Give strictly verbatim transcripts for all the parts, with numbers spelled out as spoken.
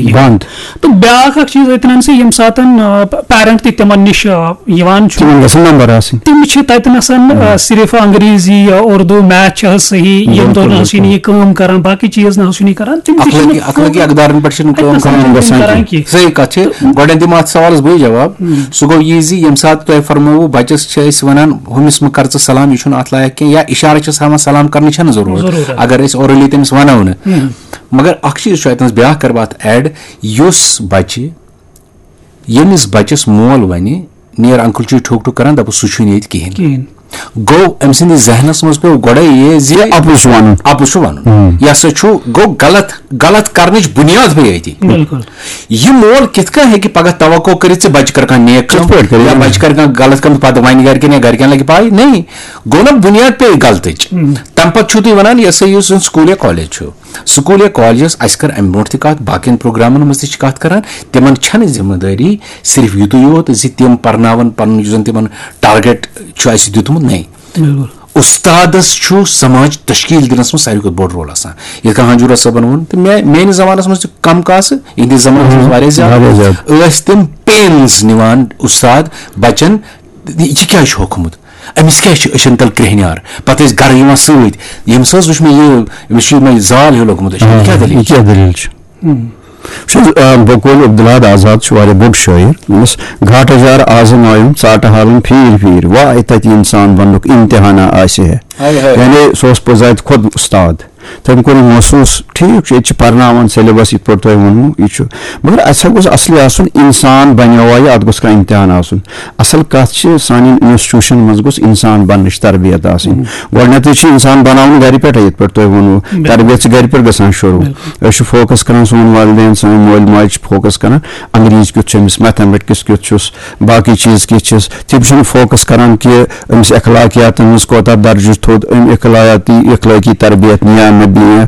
بنٛد۔ تہٕ بیٛاکھ اکھ چیٖز أتنَن سُہ، ییٚمہِ ساتَن پیرنٹ تہِ تِمن نِش آ، یِوان چھُ، تِمن گژھن نمبر آسٕنۍ۔ تِم چھِ تتہِ نسن آ، صرف انگریزی یا اردو، میتھ چھِ حظ صحیح، ییٚمہِ دۄہ نہ حظ چھُنہٕ یہِ کٲم کران، باقٕے چیز نہ حظ چھُنہٕ یہِ کران، تِم تہِ چھِنہٕ اخلٲقی اخلٲقی اقدارن پٮ۪ٹھ چھِنہٕ اتہِ کٲم نسن کران۔ چھِنہٕ گژھان کران کینٛہہ۔ کینٛہہ۔ صحیح کتھ چھِ۔ گۄڈٕنیتھ دِمہٕ اتھ سوالس بٕے جواب۔ سُہ گوٚو یہِ زِ ییٚمہِ ساتہٕ تۄہہِ فرمووُ، بچس چھِ أسۍ ونان، ہُمِس مہٕ کر ژٕ سلام، یہِ چھُنہٕ اتھ لایق کینٛہہ، یا اشارٕ چھِس ہاوان، سلام کرنٕچ چھنہٕ ضروٗرت۔ ضروٗرت۔ اگر أسۍ اورلی تٔمِس ونو نہٕ۔ مگر اکھ چیٖز چھُ اتہِ نس بیٛاکھ کرٕ بہٕ اتھ ایڈ، یُس بچہِ، ییٚمِس بچس مول ونہِ، نیر انکل چھُ ٹھوک ٹھوک کران، دپُس سُہ چھُنہٕ ییٚتہِ کِہینۍ۔ کِہینۍ۔ گوٚو أمۍ سٕنٛدِس ذہنس منٛز پیوٚو گۄڈے یہِ زِ یہِ اَپُز چھُ وَنُن۔ اَپُز چھُ وَنُن۔ یہِ ہسا چھُ، گوٚو غلط، غلط کرنٕچ بُنیاد پیٚیہِ أتی۔ بِلکُل۔ یہِ مول کِتھ کٔنۍ ہیٚکہِ پگاہ توقع کٔرِتھ زِ بچہِ کرِ کانٛہہ نیک کٲم کِتھ پٲٹھۍ کرِ؟ یا بچہِ کرِ کانٛہہ غلط کٲم، پتہٕ وَنہِ گرِکٮ۪ن یا گرِکٮ۪ن لگہِ پاے؟ نہیں۔ گوٚو نا بُنیاد پیٚیہِ غلطٕچ۔ تَمہِ پتہٕ چھُو تُہۍ وَنان یہِ ہسا یُس زن سکوٗل یا کالج چھُ، سکوٗل یا کالجس، اَسہِ کٔر اَمہِ برونٛٹھ تہِ کَتھ، باقین پروگرامن منٛز تہِ چھِ کَتھ کران، تِمن چھنہٕ ذمہٕ دٲری صرف یُتُے یوت زِ تِم پرناون پنُن یُس زن تِمن ٹارگیٹ چھُ اَسہِ دیُتمُت، نہیں۔ بِلکُل۔ اُستادس چھُ سماج تشکیل دِنس منٛز ساروی کھۄتہٕ بوٚڑ رول آسان۔ یِتھ کٔنۍ ہنجورا صٲبن ووٚن، تہٕ مےٚ، میٲنِس زمانس منٛز تہِ کم کاسہٕ، یِہنٛدِس زمانس منٛز واریاہ زیادٕ، واریاہ زیادٕ۔ ٲسۍ تِم پینز نِوان اُستاد بچن، یہِ کیازِ چھُ ہوٚکھمُت؟ أمِس کیازِ چھِ أچھن تل کرٛیٚہنیار؟ پتہٕ ٲسۍ گرٕ یِوان سۭتۍ، ییٚمِس حظ وٕچھ مےٚ یہِ، أمِس چھُ یِمے زال ہیوٗ لوٚگمُت أچھن، یہِ کیٛاہ دٔلیٖل یہِ چھِ؟ کیٛاہ دٔلیٖل چھِ؟ وٕچھ حظ، آ، بقول عبدالحد آزاد چھُ واریاہ بوٚڑ شٲعر۔ ییٚمِس گھاٹہٕ جار آزمایم ژاٹہٕ حالن پھیٖرۍ پھیٖرۍ، واے تَتہِ اِنسان بننُک امتحانہ آسہِ ہے۔ ہاے ہاے۔ یعنی سُہ اوس پوٚز اتہِ خۄد اُستاد۔ تٔمۍ کوٚر یہِ محسوٗس، ٹھیٖک چھُ، ییٚتہِ چھِ پرناوان سیلبس یِتھ پٲٹھۍ تۄہہِ ووٚنوُ، یہِ چھُ، مگر اَسہِ ہا گوٚژھ اصلی آسُن، اِنسان بنیووا یہِ، اتھ گوٚژھ کانٛہہ امتحان آسُن۔ اصل کتھ چھِ، سانٮ۪ن انسٹیٹیوشن منٛز گوٚژھ انسان بننٕچ تربیت آسٕنۍ۔ گۄڈٕنیتھٕے چھِ انسان بناوُن گرِ پٮ۪ٹھے، یِتھ پٲٹھۍ تۄہہِ ووٚنوُ، تربیت چھِ گرِ پٮ۪ٹھ گژھان شروٗع۔ أسۍ چھِ فوکس کران، سون والدین، سٲنۍ مٲلۍ ماجہِ چھِ فوکس کران، انگریزی کیُتھ چھُ أمِس، میتھمیٹکس کیُتھ چھُس، باقٕے چیٖز کِتھ چھِس۔ تِم چھِنہٕ فوکس کران کہِ أمِس اخلاقیاتن منٛز کوتاہ درجہٕ چھُ تھوٚد، أمۍ اخلاقیاتی، اخلٲقی تربیت نِیا نہ دِیا۔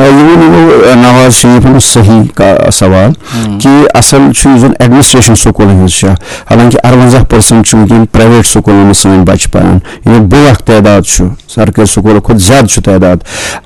آ، یہِ ووٚن یِمو، آ، نواز شریفن صحیح کا-، سوال کہِ اصل چھُ یُس زن ایڈمنسٹریشن سکوٗلن ہٕنٛز چھےٚ، حالانکہ ارونزہ پرسنٹ چھِ وٕنکیٚن پرایویٹ سکوٗلن منٛز سٲنۍ بچہِ پران، یعنی بوٚڑ اکھ تعداد چھُ، سرکٲرۍ سکوٗلو کھۄتہٕ زیادٕ چھُ تعداد۔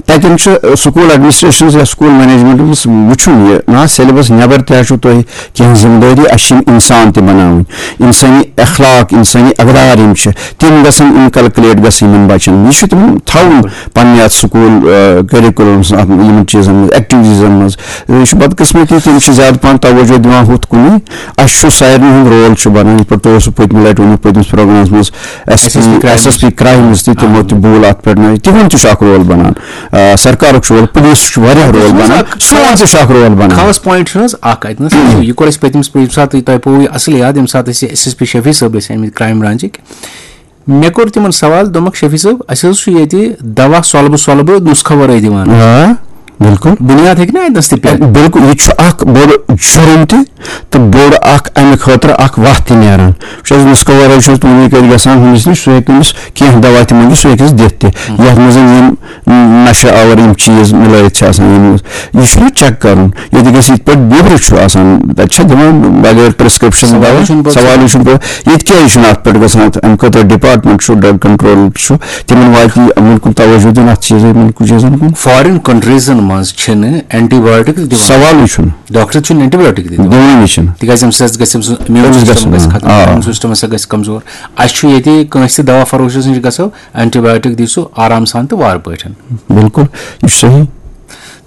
تتٮ۪ن چھُ، آ، سکوٗل ایڈمنسٹریشنس یا سکوٗل مینجمنٹس وٕچھُن یہِ نہ سیلبس نٮ۪بر تہِ چھُو تۄہہِ کینٛہہ ذمہٕ دٲری، اَسہِ چھِ یِم اِنسان تہِ بَناوٕنۍ، اِنسٲنی اخلاق، اِنسٲنی اقدار یِم چھِ، تِم گژھن inculcate گژھٕنۍ یِمن بَچن۔ یہِ چھُ تِمن تھاوُن پَنٕنہِ اَتھ سکوٗل، آ، curriculumس، اَتھ، یِمن چیٖزن منٛز، ایکٹیویٹیٖزن منٛز۔ یہِ چھُ بدقٕسمتی، تِم چھِ زیادٕ پَہَن توجہ دِوان ہُتھ کُنُے۔ اَسہِ چھُ سارنٕے ہُنٛد رول چھُ بَنان، یِتھ پٲٹھۍ تۄہہِ اوسوٕ پٔتمہِ لَٹہِ ووٚنمُت پٔتمِس پروگرامَس منٛز، S S P crimes. S S P crimes تہِ، تِمو تہِ بوٗل اَتھ پٮ۪ٹھ نہ، تِہُنٛد تہِ چھُ اَکھ رول بَنان۔ آ، سرکارُک چھُ رول، پُلیٖسُک چھُ واریاہ رول بَنان، سون تہِ چھُ اَکھ رول بَنان۔ خاص پوینٹ چھُنہٕ حظ اکھ اَتہِ نَس، یہِ کوٚر اَسہِ پٔتمِس، ییٚمہِ ساتہٕ تۄہہِ پوٚو یہِ اصل یاد، ییٚمہِ ساتہٕ أسۍ ایس ایس پی شفیع صٲب ٲسۍ آمٕتۍ کرائم برانچٕکۍ، مےٚ کوٚر تِمن سوال، دوٚپمَکھ، "شفیع صٲب، اَسہِ حظ چھُ ییٚتہِ دوا سۄلبہٕ سۄلبہٕ نُسخہٕ ورٲے دِوان۔ آ، بِلکُل۔ بُنیاد ہیٚکہِ نہ اَتہِ نَس تہِ پٮ۪تھ؟" بِلکُل، یہِ چھُ اَکھ بوٚڑ جُرُم تہِ تہٕ بوٚڑ اَکھ اَمہِ خٲطرٕ اَکھ وَتھ تہِ نیران۔ وٕچھ حظ، نُسخہٕ ورٲے چھُ تُہنٛدِ کَتھِ گژھان ہُمِس نِش، سُہ ہیٚکہِ تٔمِس کینٛہہ دوا تہِ مٔنٛگِتھ، سُہ ہیٚکہِ اَسہِ دِتھ تہِ۔ یَتھ منٛز یِم نشہٕ آور یِم چیٖز مِلٲیِتھ چھِ آسان، یِم، یہِ چھُنہ چیک کَرُن۔ ییٚتہِ گژھِ یِتھ پٲٹھۍ نیٚبرٕ چھُ آسان، تَتہِ چھا دِوان بغٲر پرسکرپشن سوالٕے دوا؟ چھُنہٕ پَتہٕ۔ سوالٕے چھُنہٕ پَتہٕ۔ ییٚتہِ کیٛازِ چھُنہٕ اَتھ پٮ۪ٹھ گژھان؟ اَتھ اَمہِ خٲطرٕ ڈپارٹمنٹ چھُ، ڈرگ کنٹرول چھُ، تِمن واتہِ یِمن کُن توجہ دیُن، اَتھ چیٖزن، یِمن کُن چیٖزن کُن۔ فارین کنٹریزن منٛز چھِنہٕ اینٹی بایوٹکس دِوان۔ سوالٕے چھُنہٕ۔ ڈاکٹر چھُنہٕ اینٹی بایوٹک دِوان۔ دِوانٕے چھِنہٕ۔ تِکیازِ اَمہِ سۭتۍ گژھِ أمۍ سُنٛد امیون تٔمِس سسٹم گژھِ گژھِ نا، ختم، آ۔ امیون سسٹم ہسا گژھِ کمزور۔ اَسہِ چھُ ییٚتہِ کٲنٛسہِ تہِ دوا فروشس نِش گژھو، اینٹی بایوٹک دی سُہ آرام سان تہٕ وارٕ پٲٹھۍ۔ بِلکُل، یہِ چھُ صحیح۔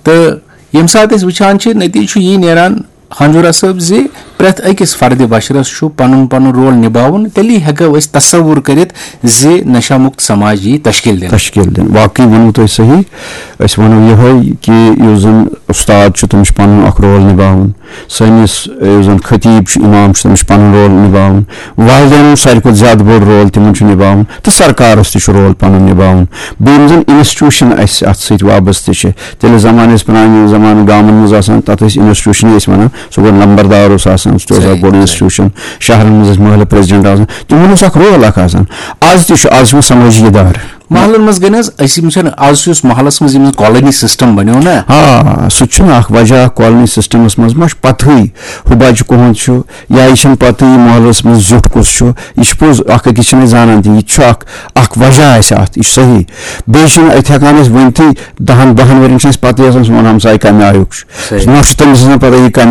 تہٕ ییٚمہِ ساتہٕ أسۍ وٕچھان چھِ، نتیٖجہٕ چھُ یی نیران، ہنجورا صٲب، زِ پرٛٮ۪تھ أکِس فردِ بشرس چھُ پنُن پنُن رول نباوُن، تیٚلی ہٮ۪کو أسۍ تصور کٔرِتھ زِ نشہ مُکت سماج یی تشکیل دِنہٕ۔ تشکیل دِنہٕ۔ واقعی ووٚنوُ تۄہہِ صحیح۔ أسۍ وَنو یِہوٚے کہِ یُس زَن اُستاد چھُ، تٔمِس چھُ پَنُن اَکھ رول نِباوُن۔ سٲنِس، یُس زَن خطیٖب چھُ، اِمام چھُ، تٔمِس چھُ پَنُن رول نِباوُن۔ والدینَن ساروی کھۄتہٕ زیادٕ بوٚڑ رول تِمَن چھُ نِباوُن، تہٕ سرکارَس تہِ چھُ رول پَنُن نِباوُن۔ بیٚیہِ یِم زَن انسٹیٹیوشن اَسہِ اَتھ سۭتۍ وابستہٕ چھِ، تیٚلہِ زمانہٕ ٲسۍ پرٛانہِ زمانہٕ گامَن منٛز آسان، تَتھ ٲسۍ انسٹیٹیوشنٕے ٲسۍ وَنان۔ سُہ گوٚو نمبردار اوس آسان، سُہ تہِ اوس صحیح، اَکھ بوٚڑ صحیح۔ انسٹیٹیوشن۔ شہرَن منٛز ٲسۍ محلہٕ پریزیڈنٹ آسان، تِمَن اوس اَکھ رول اَکھ آسان۔ آز تہِ چھُ، آز چھِ یِوان سمٲجی ادارٕ۔ محلن منٛز گٔے نہٕ حظ، أسۍ یِم چھِنہٕ، آز چھُ یُس محلس منٛز یِم کالونی سسٹم بنیو نا۔ آ، سُہ تہِ چھُنہٕ اکھ وجہ، کالونی سسٹمس منٛز ما چھُ پتہٕے ہُہ بچہِ کُہُنٛد چھُ، یا یہِ چھَنہٕ پتہٕے یہِ محلس منٛز زیُٹھ کُس چھُ۔ یہِ چھُ پوٚز، اکھ أکِس چھِنہٕ أسۍ زانان تہِ، یہِ تہِ چھُ اکھ، اکھ وجہ اَسہِ اتھ، یہِ چھُ صحیح۔ بیٚیہِ چھِنہٕ أتھۍ ہٮ۪کان أسۍ ؤنتھٕے، دہن بہن ؤرین چھِنہٕ اَسہِ پتہٕے آسان سون ہمساے کمہِ آیُک چھُ۔ صحیح۔ نہ چھُ تٔمِس آسان پتہ یہِ کمہِ